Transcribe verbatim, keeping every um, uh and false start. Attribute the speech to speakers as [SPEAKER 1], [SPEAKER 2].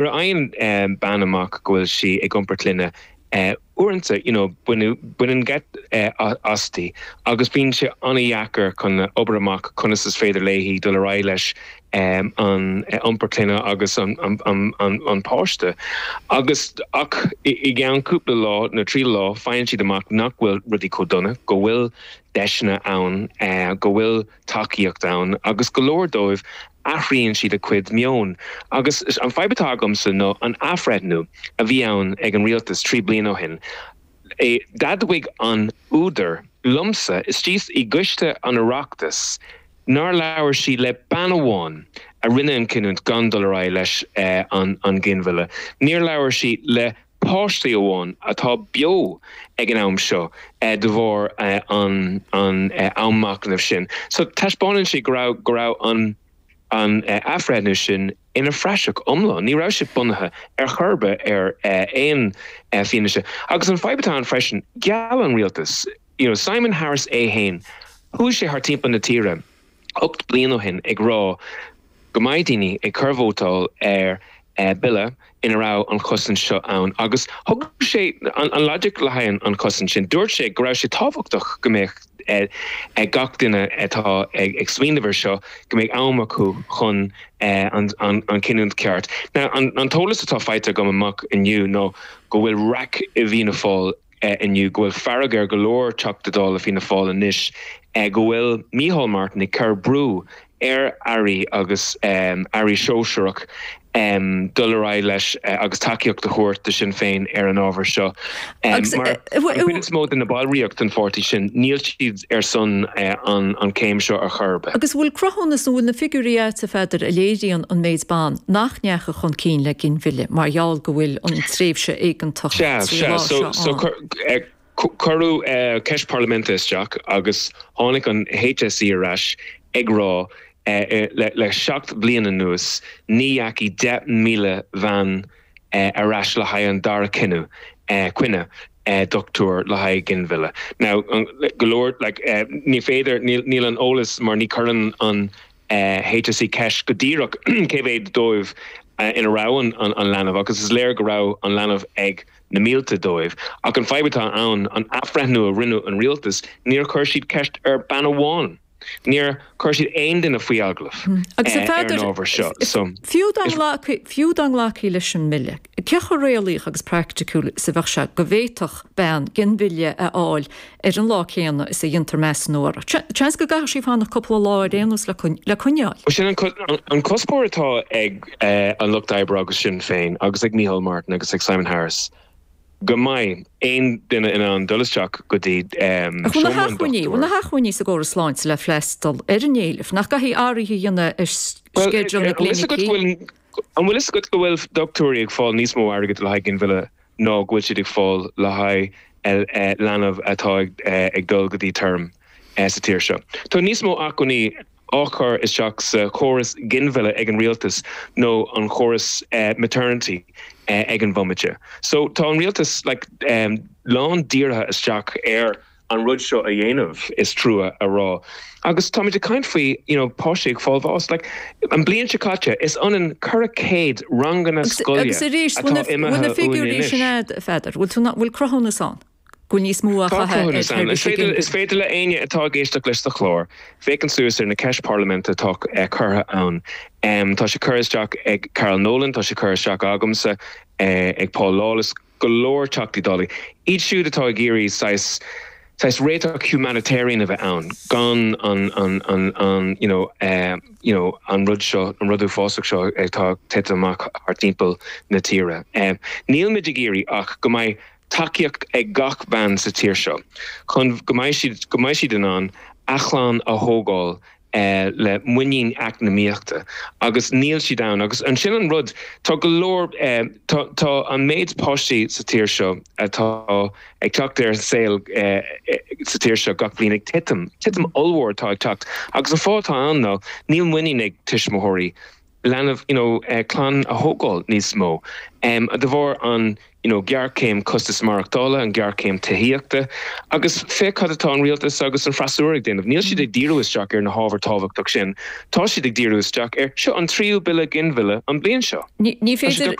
[SPEAKER 1] Nuair a fhaigheann bean amach go bhfuil sí ag iompar clainne, uaireanta, you know, baineann geit aisti agus bíonn sé an-deacair chun obair amach conas is féidir léi dul ar aghaidh leis an iompar clainne agus an an páiste. Agus ach i gceann cúpla lá nó trí lá faigheann siad amach nach bhfuil rudaí chomh dona, go bhfuil deiseanna ann, go bhfuil tacaíocht ann agus go leor dóibh athraíonn siad a cuid meon. Agus an fadhb atá agamsa ná an athbhreithniú a bhí ann ag an rialtas trí bliana ó shin. D'admhaigh an údar liomsa istigh i gcoiste an Oireachtais nár labhair sí le bean amháin a rinne an cinniúint gan dul ar aghaidh leis an ginmhilleadh. Níor labhair sí le páistí amháin atá beo ag an am seo de bharr an am machnaimh sin. So taispeánann sé go raibh go raibh an an athbhreithniú sin ina phraiseach iomlán. Ní raibh sé bunaithe ar chor ar bith ar aon fianaise. Agus an fadhb atá ann freisin, gheall an rialtas, you know, Simon Harris é féin, chuaigh sé thar timpeall na tíre ocht bliain ó shin ag rá go mbeidh daoine ag cur vótáil ar bille ina raibh an chosaint seo ann agus thug sé an logic le haghaidh an chosaint sin. Dúirt sé go raibh sé tábhachtach go mbeadh ag gach duine atá ag smaoineamh air seo go mbeidh am acu chun an cinniúint ceart. Now an t-eolas atá faighte agam amach inniu ná go bhfuil raic i bhFianna Fáil inniu, go bhfuil fearg ar go leor Teachta Dála Fianna Fáil anois, go bhfuil Micheál Martin ag cur brú ar airí agus airí sóisearach dul ar aghaidh leis agus tacaíocht a thabhairt do Sinn Féin ar an ábhar seo. Mar an chuid is mó de na ballraíocht den pháirtí sin, níl siad ar son an céim seo ar chor ar bith.
[SPEAKER 2] Agus bhfuil cruthúnas nó bhfuil na figiúirí agat, a Pheadair, a léiríonn an méid ban nach ndeachaigh chun cinn le ginmhilleadh mar gheall go bhfuil an tréimhse éigeantach trí lá seo ann?
[SPEAKER 1] Cuireadh ceist parlaiminte isteach agus tháinig an H S E ar ais ag rá le seacht bliana anuas ní dheachaigh deich míle bhean ar ais le haghaidh an dara cinneadh coinne dochtúir le haghaidh ginmhilleadh. Now go leor like ní féidir níl an eolas mar ní chuireann an H S E ceist go díreach cé mhéad dóibh ina raibh an an leanbh agus is léir go raibh an leanbh ag na mílte dóibh. Ach an fadhb atá ann, an athbhreithniú a rinne an rialtas, níor chuir siad ceist ar bean amháin. Níor chuir siad aon duine faoi agallamh ar an ábhar seo. So
[SPEAKER 2] Fiú fiú dá nglacfaí leis an mbille, cé chomh réalaíoch agus praiticiúil is a bheadh sé go bhféadfadh bean ginmhilleadh a fháil ar an lá céanna is a dhéantar measúnú uirthi? Seans go gcaithfidh sí fanacht cúpla lá ar aon nós le coinneáil.
[SPEAKER 1] Sin an cuspóir atá ag an Lucht Oibre agus Sinn Féin agus ag Micheál Martin agus ag Simon Harris, go mbeidh aon duine in ann dul isteach go dtí
[SPEAKER 2] Bhfuil na hacmhainní bhfuil na hacmhainní sa gcóras sláinte le freastal ar an éileamh, nach gcaithfidh athruithe a dhéanamh ar sceideal na gclinicí?
[SPEAKER 1] An bhfuil fhios agat go bhfuil dochtúirí ag fáil níos mó airgid le haghaidh ginmhilleadh ná go bhfuil siad ag fáil le haghaidh leanbh atá ag dul go dtí term sa tír seo? Tá níos mó acmhainní á chur isteach sa chóras ginmhilleadh ag an rialtas nó an chóras maternity ag an bhomaite. So tá an rialtas like, um, lán dírithe isteach ar an rud seo a dhéanamh, is trua a rá. Agus táimid ag caint faoi you know, páistí ag fáil bháis, like, an bliain seo caite is ionann ceithre chéad ranganna scoile
[SPEAKER 2] Agus arís atá imithe na figiúirí sin agat, a Pheadair, bhfuil bhfuil cruthúnas ann go bhfuil níos mó a
[SPEAKER 1] chaithfidh? Is féidir le éinne atá ag éisteacht leis sa chlár féachaint suas ar na ceist parlaiminte atá curtha ann. Um, tá sé curtha isteach ag Carol Nolan, tá sé curtha isteach agamsa, uh, ag Paul Lawless, go leor Teachtaí Dála. Iad siúd atá ag iarraidh saghas saghas réiteach humanitarian a bheith ann, gan an an an an you know, uh, you know, an rud seo, an rud uafásach seo atá tite amach thar timpeall na tíre. Um, Níl muid ag iarraidh ach go mbeidh tacaíocht ag gach bean sa tír seo chun go mbeidh siad go mbeidh siad in ann a chlann a thógáil eh, le muinín eacnamaíochta agus níl siad ann agus ansin an rud tá go leor eh, tá, tá an méid páistí sa tír seo atá ag teacht ar an saol eh, sa tír seo gach bliain ag titim titim ollmhór atá ag teacht agus an fáth atá ann ná níl muinín ag tuismitheoirí leanbh you know, uh, clann a thógáil níos mó. Um, de bharr an you know, géarchéim costas maireachtála an géarchéim tithíochta, agus féach cad atá an rialtas agus an freasúra ag déanamh. Níl siad ag díriú isteach ar na hábhair tábhachtach sin, Tá siad ag díriú isteach ar seo an tríú bille ginmhilleadh an bliain seo.
[SPEAKER 2] Ní féidir